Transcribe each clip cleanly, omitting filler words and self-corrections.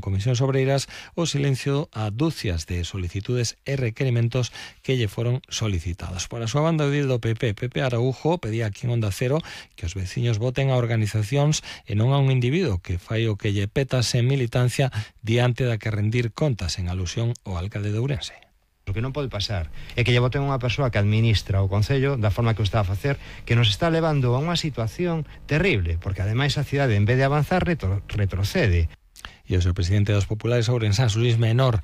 Comisións Obreiras o silencio a dúcias de solicitudes e requerimentos que lle foron solicitados. Por a súa banda, o edil do PP, Pepe Araújo, pedía aquí en Onda Cero que os veciños voten a organizacións e non a un individuo que fai o que lle peta sen militancia diante da que rendir contas, en alusión ao alcalde de Ourense. O que non pode pasar é que lle voten unha persoa que administra o Concello da forma que o está a facer, que nos está levando a unha situación terrible, porque ademais a cidade, en vez de avanzar, retrocede. E o seu presidente dos populares ourensás, Luís Menor,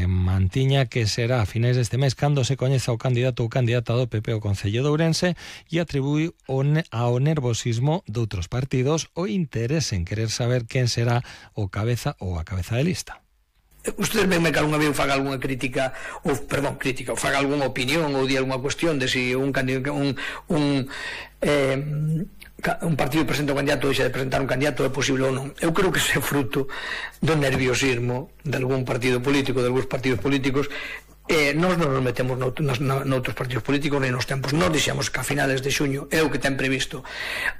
mantiña que será a finais deste mes cando se coñeza o candidato ou candidata do PP ao Concello de Ourense, e atribui ao nervosismo de outros partidos o interese en querer saber quen será o cabeza ou a cabeza de lista. Ustedes venme que algunha vez faga algunha crítica ou faga algunha opinión ou di algunha cuestión de si un partido presenta un candidato ou deixa de presentar un candidato é posible ou non. Eu creo que ese é fruto do nerviosismo de algún partido político, de algúns partidos políticos. Nós non nos metemos noutros partidos políticos nem nos tempos. Nós dixemos que a finales de xuño é o que ten previsto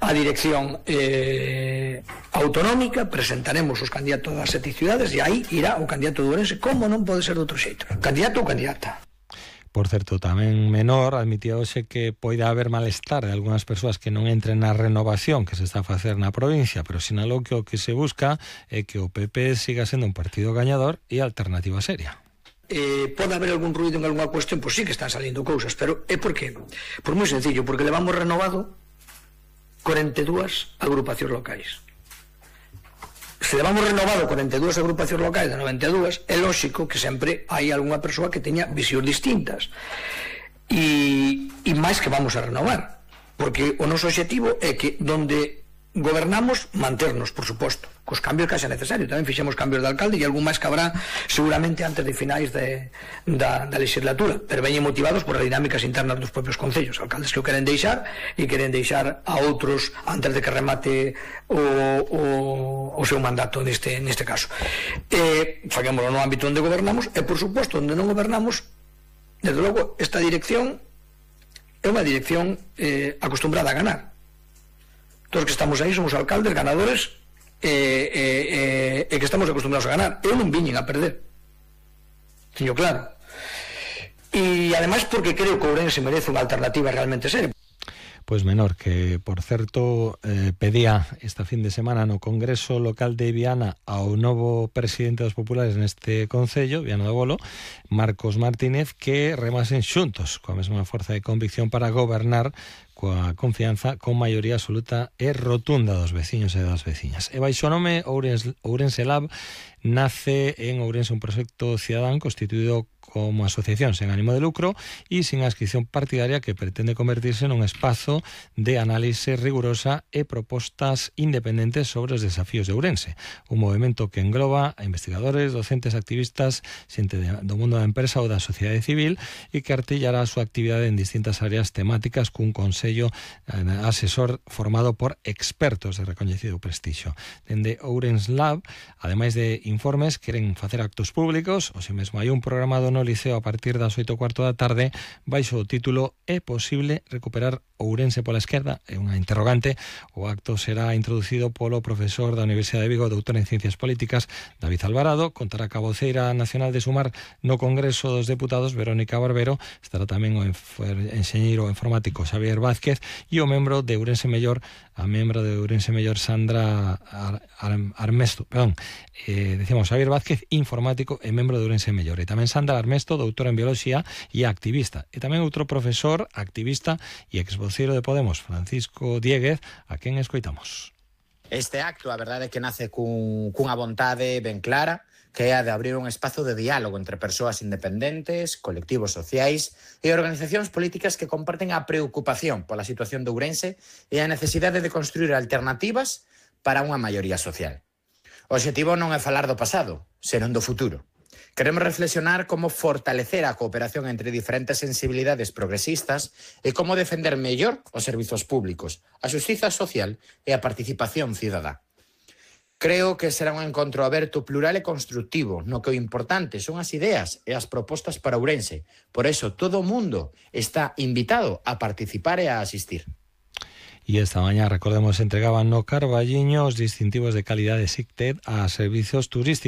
a dirección autonómica, presentaremos os candidatos das 7 cidades e aí irá o candidato de Ourense, como non pode ser de outro xeito, candidato ou candidata. Por certo, tamén Menor admitía hoxe que poida haber malestar de algunhas persoas que non entren na renovación que se está a facer na provincia, pero sinalou que o que se busca é que o PP siga sendo un partido gañador e alternativa seria. Pode haber algún ruido en algunha cuestión, pois sí que están salindo cousas, pero é por qué? Por moi sencillo, porque levamos renovado 42 agrupacións locais. Se levamos renovado 42 agrupacións locais de 92, é lógico que sempre hai algunha persoa que teña visións distintas. E máis que vamos a renovar, porque o noso objetivo é que donde gobernamos, manternos, por suposto, cos cambios que haxa necesario. Tamén fixemos cambios de alcalde e algún máis que habrá seguramente antes de finais da legislatura, pero veñen motivados por as dinámicas internas dos propios concellos, alcaldes que o queren deixar e queren deixar a outros antes de que remate o seu mandato neste caso. Fagámoslo no ámbito onde gobernamos e, por suposto, onde non gobernamos, desde logo, esta dirección é unha dirección acostumbrada a ganar. Todos que estamos aí somos alcaldes, ganadores e que estamos acostumbrados a ganar. Eu non viñen a perder, teño claro, e ademais porque creo que Ourense merece unha alternativa realmente seria. Pois Menor, que por certo pedía esta fin de semana no Congreso Local de Viana ao novo presidente dos populares neste Concello, Viana do Bolo, Marcos Martínez, que remasen xuntos coa mesma forza de convicción para gobernar coa confianza con maioría absoluta e rotunda dos veciños e das veciñas. E baixo o nome Ourense Lab nace en Ourense un proxecto cidadán constituído como asociación sen ánimo de lucro e sin adscripción partidaria que pretende convertirse nun espazo de análise rigurosa e propostas independentes sobre os desafíos de Ourense. Un movimento que engloba a investigadores, docentes, activistas, xente do mundo da empresa ou da sociedade civil e que artillará a súa actividade en distintas áreas temáticas cun consello asesor formado por expertos de recoñecido prestixio. Dende Ourense Lab, ademais de informes, queren facer actos públicos, ou se mesmo hai un programado no Liceo a partir das 8:15 da tarde, baixo o título "É posible recuperar Ourense pola esquerda?" É unha interrogante. O acto será introducido polo profesor da Universidade de Vigo, doutor en Ciencias Políticas, David Alvarado. Contará ca voceira nacional de Sumar no Congreso dos Deputados, Verónica Barbero. Estará tamén o enxeñeiro informático Xavier Vázquez e o membro de Ourense Mellor, a membro de Ourense Mellor Sandra Armesto, decíamos Xavier Vázquez, informático e membro de Ourense Mellor, e tamén Sandra Armesto, doutora en Biología e activista, e tamén outro profesor, activista e exvoceiro de Podemos, Francisco Dieguez, a quen escoitamos. Este acto, a verdade é que nace cunha vontade ben clara, que é a de abrir un espazo de diálogo entre persoas independentes, colectivos sociais e organizacións políticas que comparten a preocupación pola situación de Ourense e a necesidade de construir alternativas para unha maioría social. O obxectivo non é falar do pasado, senón do futuro. Queremos reflexionar como fortalecer a cooperación entre diferentes sensibilidades progresistas e como defender mellor os servizos públicos, a xustiza social e a participación cidadá. Creo que será un encontro aberto, plural e constructivo, no que o importante son as ideas e as propostas para Ourense. Por eso, todo o mundo está invitado a participar e a asistir. E esta mañá, recordemos, entregaban no Carballiño os distintivos de calidade SICTED a servizos turísticos.